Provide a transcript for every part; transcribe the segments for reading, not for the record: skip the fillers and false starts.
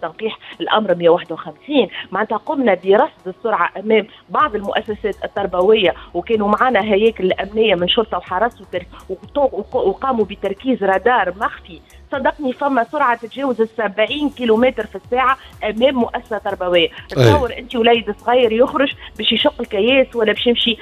تنقيح الامر 151، معناتها قمنا برصد السرعة امام بعض المؤسسات التربويه، وكانوا معنا هياكل الامنية من شرطه وحرس وقاموا بتركيز رادار مخفي. صدقني فما سرعة تتجاوز ال 70 كيلومتر في الساعة امام مؤسسة تربويه. تصور انت وليد صغير يخرج باش يشق الكياس ولا باش يمشي،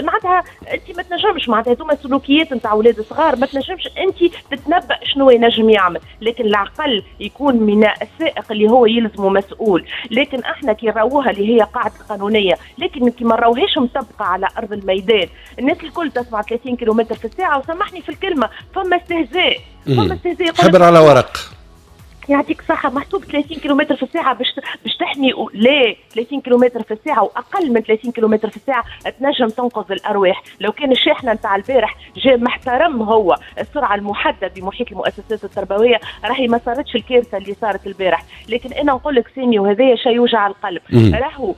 معناتها انت ما تنجمش، معناتها هذوما سلوكيات نتاع اولاد صغار، ما تنجمش انت تتنبأ شنو ينجم يعمل، لكن العقل يكون من السائق اللي هو يلزمه مسؤول. لكن احنا كي راوها اللي هي قاعدة قانونيه، لكن كي ما راوهاش مطبقه على ارض الميدان، الناس الكل تسمع 30 كيلومتر في الساعه، وسامحني في الكلمه، فما استهزاء، فما استهزاء. حبر على ورق. يعطيك صحة، محسوب 30 كيلومتر في الساعة باش تحمي، لا، 30 كيلومتر في الساعة وأقل من 30 كيلومتر في الساعة تنجم تنقذ الأرواح. لو كان الشاحنة نتاع البارح جاء محترم هو السرعة المحددة بمحيط المؤسسات التربوية، راهي ما صارتش الكارثة اللي صارت البارح. لكن أنا نقول لك سامي، وهذايا شيء يوجع القلب، راهو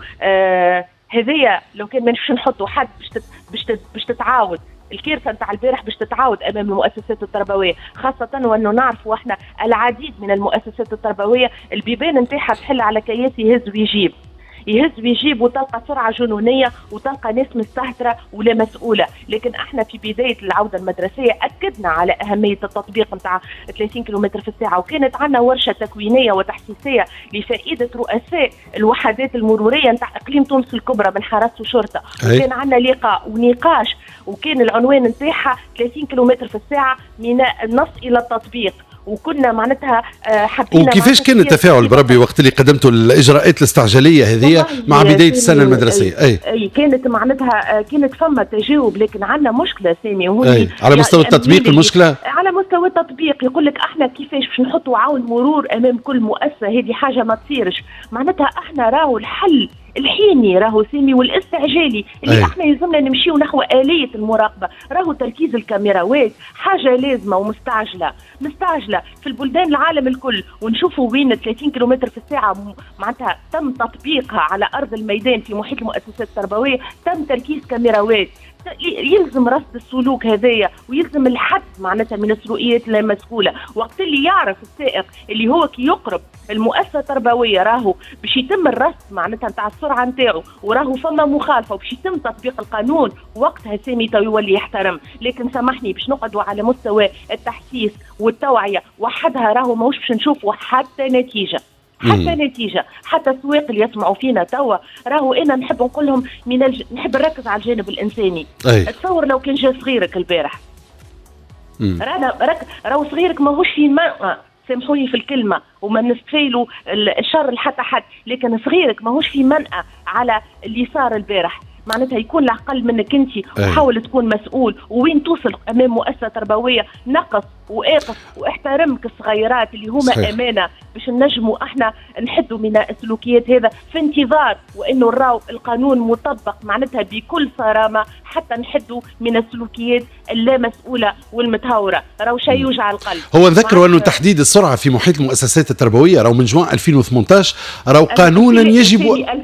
هذايا لو كان ما نحطوا حد باش تتعاود الكارثة نتاع البارح، باش تتعاود امام المؤسسات التربويه، خاصة وانه نعرفوا احنا العديد من المؤسسات التربوية البيبان نتاعها تحل على كياس يهز ويجيب، يهز ويجيب، وتلقى سرعة جنونيه وتلقى ناس مستهتره ولا مسؤوله. لكن احنا في بداية العودة المدرسية اكدنا على اهمية التطبيق نتاع 30 كيلومتر في الساعه، وكانت عندنا ورشه تكوينيه وتحسيسيه لفائدة رؤساء الوحدات المرورية نتاع اقليم تونس الكبرى من حرس وشرطه، وكان عندنا لقاء ونقاش، وكان العنوان نتاعها 30 كيلومتر في الساعة من النص الى التطبيق، وكنا معناتها حبينا. وكيفاش كان التفاعل بربي وقت اللي قدمتوا الاجراءات الاستعجاليه هذه مع بداية السنة المدرسيه؟ اي، كانت معناتها كانت فما تجاوب، لكن عندنا مشكلة سامي. وهوني على مستوى التطبيق المشكله. على مستوى التطبيق يقول لك احنا كيفاش باش نحطوا عون مرور امام كل مؤسسه؟ هذه حاجة ما تصيرش. معناتها احنا راهو الحل الحيني راهو سامي والاستعجالي اللي احنا يلزمنا نمشيو نحو آلية المراقبة، راهو تركيز الكاميراوات حاجة لازمة ومستعجلة، مستعجلة في البلدان العالم الكل، ونشوفوا وين 30 كيلومتر في الساعة معناتها تم تطبيقها على أرض الميدان في محيط المؤسسات التربوية، تم تركيز كاميراوات. يلزم رصد السلوك هذايا ويلزم الحد معناتها من السلوكيات المسؤوله. وقت اللي يعرف السائق اللي هو كي يقرب المؤسسة التربوية راهو باش يتم الرصد معناتها نتاع السرعة نتاعو، وراهو فما مخالفة وباش يتم تطبيق القانون، وقتها سامي تو يولي يحترم. لكن سامحني، باش نقعدوا على مستوى التحسيس والتوعية وحدها راهو ماهوش باش نشوفوا حتى نتيجه، حتى نتيجه. حتى السواق اللي يسمعوا فينا توا، راهو انا نحب نقول لهم نحب نركز على الجانب الانساني. تصور لو كان جا صغيرك البارح، رانا راهو صغيرك ماهوش في منأى، سامحوني في الكلمة وما نستفيلوا الشر لحتى حد، لكن صغيرك ماهوش في منأى على اللي صار البارح. معناتها يكون العقل منك انت، وحاول تكون مسؤول، وين توصل امام مؤسسة تربوية نقص واقف واحترمك الصغيرات اللي هما امانه، باش نجموا احنا نحدوا من السلوكيات هذا، في انتظار وانه نراو القانون مطبق معناتها بكل صرامه حتى نحدوا من السلوكيات اللامسؤوله والمتهوره. راهو شيء يوجع القلب. هو نذكروا انه تحديد السرعة في محيط المؤسسات التربوية راهو من جوان 2018، راهو قانونا يجب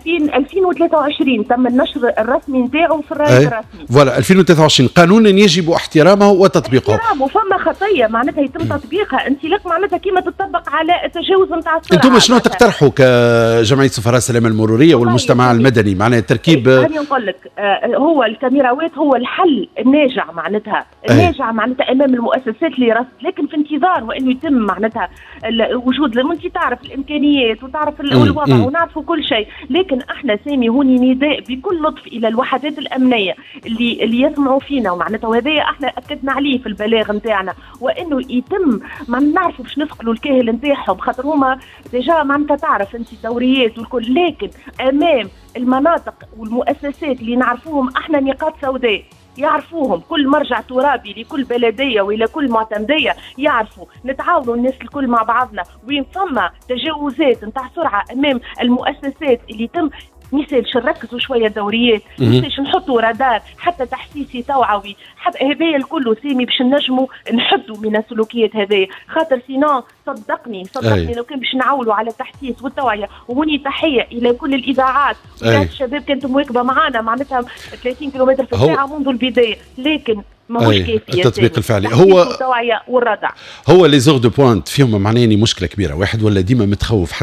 2023 تم النشر الرسمي نتاعو في الراي الرسمي. voilà، 2023، قانونا يجب احترامه وتطبيقه. احترامه، فما خطيه معناتها يتم تطبيقها انطلاق معناتها كما تطبق على التجاوز نتاع السرعه. انتم شنو تقترحوا كجمعية سفراء السلامة المرورية والمجتمع المدني معناها التركيب؟ انا نقول لك هو الكاميراوات هو الحل الناجع معناتها الناجع معناتها امام المؤسسات لرصد، لكن في انتظار وانه يتم معناتها وجود، انت تعرف الامكانيات وتعرف الوضع ونعرفوا كل شيء. لكن احنا سامي هوني نداء بكل لطف الى الوحدات الامنية اللي يسمعوا فينا، ومعناتها وهذايا احنا اكدنا عليه في البلاغ نتاعنا، وانه يتم ما نعرفوا باش نثقلوا الكاهل نتاعهم، خاطر هما déjà معناتها تعرف انت الدوريات والكل، لكن امام المناطق والمؤسسات اللي نعرفوهم احنا نقاط سوداء يعرفوهم كل مرجع ترابي لكل بلديه والى كل معتمديه يعرفوا، نتعاونوا الناس الكل مع بعضنا وين فما تجاوزات نتاع سرعة امام المؤسسات اللي تم، ميسالش نركزوا شوية دوريات، ميسالش نحطوا رادار حتى تحسيسي توعوي، حتى هذايا الكل سامي باش نجموا نحدوا من السلوكيات هذايا، خاطر sinon صدقني صدقني لو كان باش نعولوا على التحسيس والتوعية. وهوني تحية الى كل الاذاعات، الشباب كانت مواكبة معنا معناتها 30 كيلومتر في الساعة منذ البدايه، لكن ماهوش كافي التطبيق الفعلي. هو التوعية والردع. هو les heures de pointe فيهم معناه مشكلة كبيره، واحد ولا ديما متخوف.